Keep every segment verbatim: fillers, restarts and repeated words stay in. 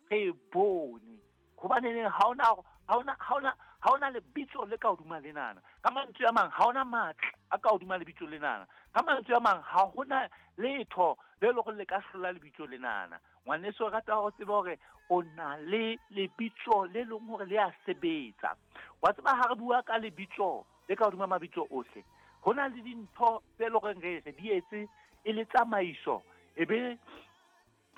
re e bone. Hobaneneng ha hona ha hona ha hona ha hona lebitso le ka hodima lenana. Ka mantswe a mang, ha hona matla a ka hodima lebitso lenana. Ka mantswe a mang, ha hona letho le leng hore le ka hlola lebitso lenana. Ngwaneso, o rata ho tseba hore o na le lebitso le leng hore le a sebetsa. Wa tseba ha re bua ka lebitso le ka hodima mabitso ohle, ho na le dintho tse leng hore re re di etse e le tsamaiso, ebe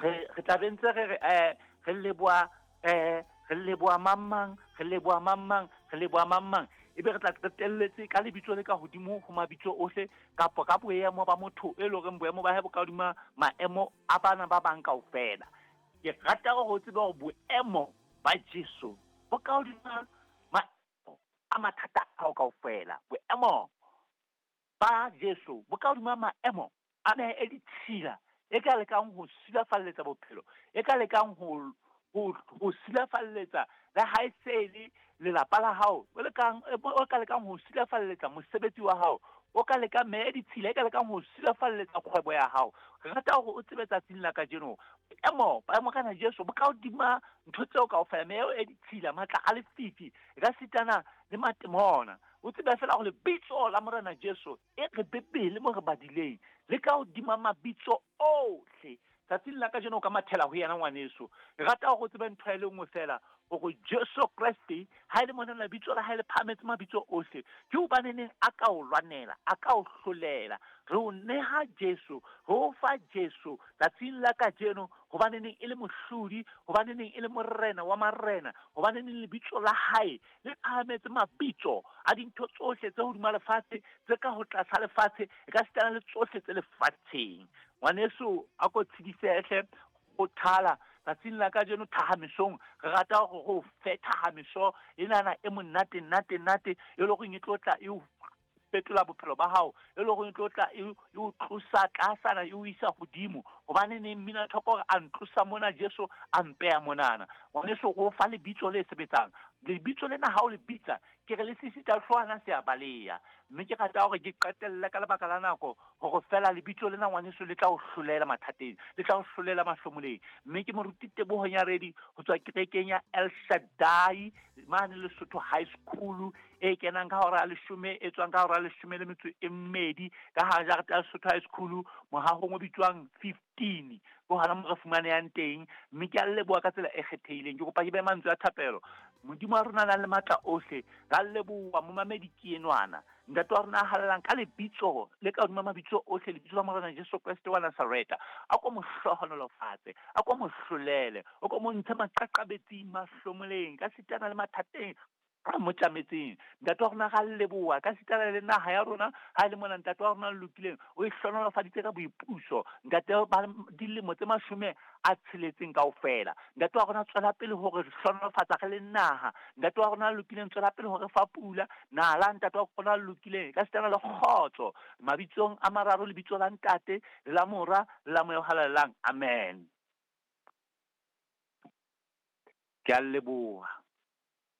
re re tla be ntse re re eh re leboha eh re leboha mang mang, re leboha mang mang, re leboha mang mang, ebe re tla qetelletse ka lebitso le ka hodimo ho mabitso ohle, kapa ka boemo ba motho e leng hore boemo ba hae bo ka hodima maemo a bana ba bang kaofela. Ke rata hore o tsebe hore boemo ba Jesu bo ka hodima maemo a mathata a hao kaofela. Boemo ba Jesu bo ka hodima maemo a meya e ditshila e ka lekang ho silafalletsa bophelo, e ka lekang ho ho ho silafalletsa le ha e se le lelapa la hao, o lekang o ka lekang ho silafalletsa mosebetsi wa hao, o ka lekang meya e ditshila e ka lekang ho silafalletsa kgwebo ya hao. Re rata hore o tsebe tsatsing la kajeno boemo ba Morena Jesu bo ka hodima ntho tseo kaofela, meya e ditshila, matla a lefifi, e ka sitana le matemona. O tsebe fela hore lebitso la Morena Jesu e re Bibele mo re badileng le ka hodima mabitso ohle. Tsatsing la kajeno o ka mathela ho yena ngwaneso. Re rata hore o tsebe ntho e le nngwe fela, hore Jesu Kreste ha e le mona lebitso la hae le phahametse mabitso ohle, ke hobaneneng a ka o lwanela, a ka o hlolela. Re o neha Jesu, re o fa Jesu tsatsing la kajeno, hobaneneng e le mohlodi, hobaneneng e le morena wa marena, hobaneneng lebitso la hae le phahametse mabitso a dintho tsohle tse hodima lefatshe, tse ka ho tlasa lefatshe, e ka sitana le tsohle tse lefatsheng. Ngwaneso, a ko tshedisehle, o thala tsatsing la kajeno thahamisong. Re rata hore re o fe thahamiso enana e monate nate nate, e leng hore e tlo tla e o fetola bophelo ba hao, e leng hore e tlo tla e o tlosa tlasana e o isa hodimo. Hobane neng mmina thoko hore a ntlosa mona Jesu a mpeya monana. Ngwaneso, re o fa lebitso le sebetsang. Lebitso lena ha o le bitsa, ke re le sisita hloohwana se a baleha. Mme ke rata hore ke qetelle ka lebaka la nako hore fela lebitso lena ngwaneso le tla o hlolela mathateng, le tla o hlolela mahlomoleng. Mme ke moruti Teboho Nyaredi ho tswa kerekeng ya El Shaddai mane Lesotho High School, e kenang ka hora ya leshome, e tswang ka hora ya leshome le metso e mmedi ka hara jarete ya Lesotho High School, mohahong o bitswang fifteen, ke hona mo re fumanehang teng. Mme ke a leboha ka tsela e kgethehileng. Ke kopa ke behe mantswe a thapelo. Modimo wa rona a nang le matla ohle, ra leboha momamedi ke enwana. Ntate wa rona a halalelang ka lebitso le ka hodima mabitso ohle, lebitso la Morena Jesu Kreste wa Nazareta, a ko mo hlohonolofatse, a ko mo hlolele, o ko mo ntshe maqaqabetsing, mahlomoleng, ka sitana le mathateng a mo tjametseng. Ntate wa rona ra leboha ka sitana le naha ya rona, ha e le mona ntate wa rona a lokileng, o e hlohonolofaditse ka boipuso. Ntate ba dilemo tse mashome a tsheletseng kaofela. Ntate wa rona tswela pele hore re hlohonolofatsa re le naha. Ntate wa rona a lokileng tswela pele hore fa pula nala. Ntate wa rona a lokileng ka sitana le kgotso. Mabitsong a mararo, lebitso la Ntate, le la Mora, le la Moya o Halalelang. Amen. Ke a leboha.